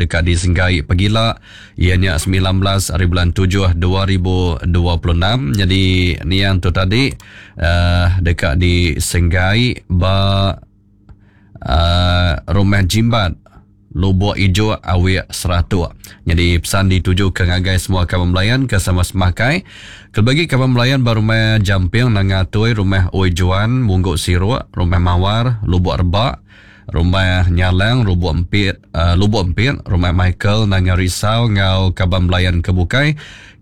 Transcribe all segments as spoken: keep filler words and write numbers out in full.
deka disenggai pagila iya nya semilan belas hari bulan tujuh dua ribu dua puluh enam. Jadi niang tu tadi uh, deka disenggai ba uh, Rumah Jimbat Lubuk Ijuk Awik Seratuk. Jadi pesan dituju ke ngagai semua kaban belayan ke sama semakai. Kelebih lagi kaban belayan ba Rumah Jamping Nanga Tui, Rumah Oi Juan, Mungguk Siruk, Rumah Mawar, Lubuk Rebak, Rumah Nyalang, Lubuk Empit, uh, Lubuk Empit, Rumah Michael Nanga Risau ngau kaban belayan ke bukai.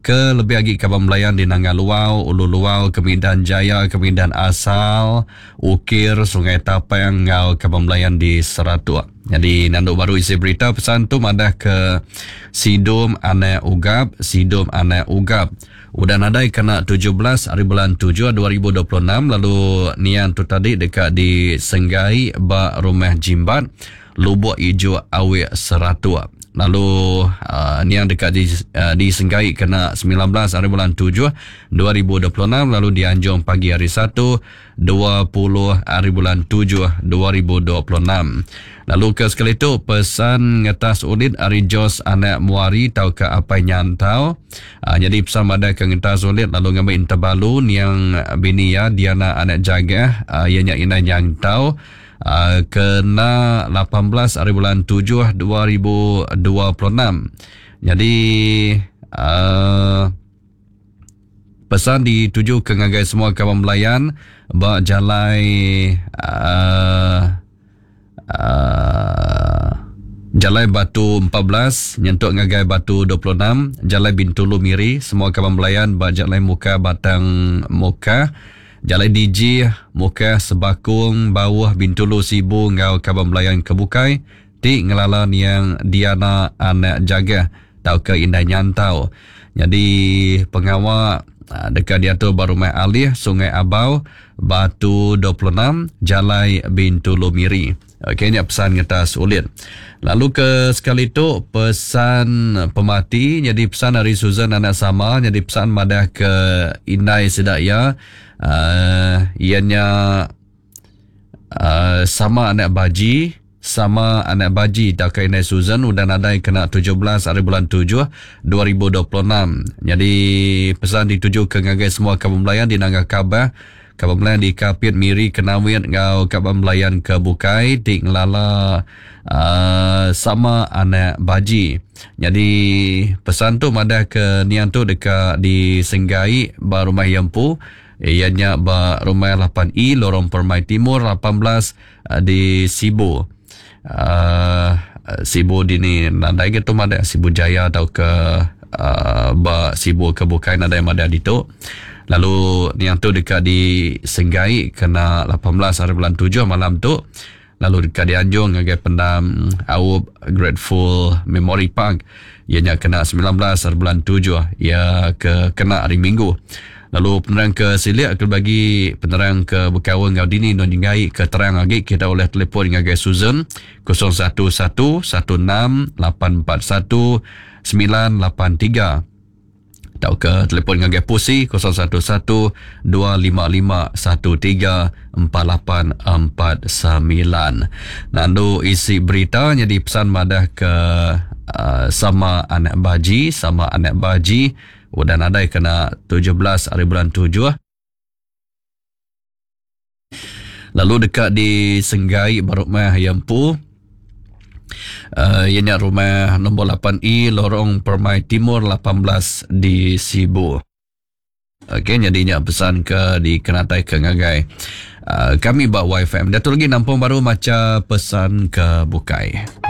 Ke lebih lagi kaban belayan di Nanga Luau, Ulu Luau, Kemidan Jaya, Kemidan Asal, Ukir, Sungai Tapang ngau kaban belayan di Seratuk. Jadi nandu baru isi berita pesan tu madah ke Sidum Anak Ugap, Sidum Anak Ugap. Udah nadai kena tujuh belas hari bulan tujuh dua ribu dua puluh enam lalu nian tu tadi dekat di Senggai ba Rumah Jimbat, Lubuk Ijuk Awik Seratuk. Lalu uh, niang dekat di, uh, di Senggai kena sembilan belas hari bulan tujuh dua ribu dua puluh enam lalu dianjung pagi hari Satu dua puluh hari bulan tujuh dua ribu dua puluh enam. Lalu ke sekali tu pesan ngetas ulit ari Jos Anak Muari tau ke Apai Nyantau. Uh, jadi pesan madah ke ngetas ulit lalu ngambil interbalu niang bini ya Diana Anak Jagah uh, ianya Inai Nyantau. Uh, kena lapan belas hari bulan tujuh dua ribu dua puluh enam. Jadi uh, pesan dituju ke ngagai semua kawan belayan ba jalai uh, uh, Jalai Batu empat belas nyentuk ngagai Batu dua puluh enam, Jalai Bintulu Miri, semua kawan belayan ba Jalai Muka Batang Muka, Jalai D J Muka Sebakung Bawah Bintulu Sibu ngau kaban belayan kebukai ti ngelala niang Diana Anak Jagah tau ke Indai Nyantau. Jadi pengawa dekat diatur ba Rumah Alih Sungai Abau Batu dua puluh enam Jalai Bintulu Miri. Okey, ni pesan ngetas ulit. Lalu ke sekali tu pesan pemati jadi pesan dari Susan Anak Sama jadi pesan madah ke Indai sedak ya uh, ianya uh, sama anak baji sama anak baji tak ke Indai Susan udah nadai kena tujuh belas hari bulan tujuh dua ribu dua puluh enam. Jadi pesan dituju ke ngagai semua kaban belayan di Nanga Kabah, kaban belayan di Kapit Miri Kenawit ngau kaban belayan ke Bukai ti ngelala uh, sama anak baji. Jadi pesan tu madah ke nian tu dekat di Senggai ba Rumah Yempu ianya ba Rumah lapan E Lorong Permai Timur lapan belas uh, di Sibu. Uh, Sibu di ni nadai ke tu madah Sibu Jaya atau ke uh, ba Sibu ke Bukai nadai madah ditu. Lalu niang tu dekat di Senggai kena lapan belas hari bulan tujuh malam tu. Lalu dekat dianjung ngagai pendam Aup Grateful Memory Park ianya kena sembilan belas hari bulan tujuh ia ke kena hari Minggu. Lalu penerang ke Silik ke bagi penerang ke Bekawan ngau dini non ngai ke terang lagi kita oleh telefon ngagai Susan kosong satu satu satu enam lapan empat satu sembilan lapan tiga atau ke telefon ngagai Pusi kosong satu satu dua lima lima satu tiga empat lapan empat sembilan. Nandu isi berita jadi pesan madah ke uh, sama anak baji sama anak baji udah nadai kena tujuh belas hari bulan tujuh. Lalu dekat di Senggai Barukmah Yempu uh, ianya rumah nombor lapan E Lorong Permai Timur lapan belas di Sibu. Okey, jadinya pesan ke di Kenatai ke ngagai uh, kami ba Y F M. Datuk lagi nampung baru maca pesan ke Bukai.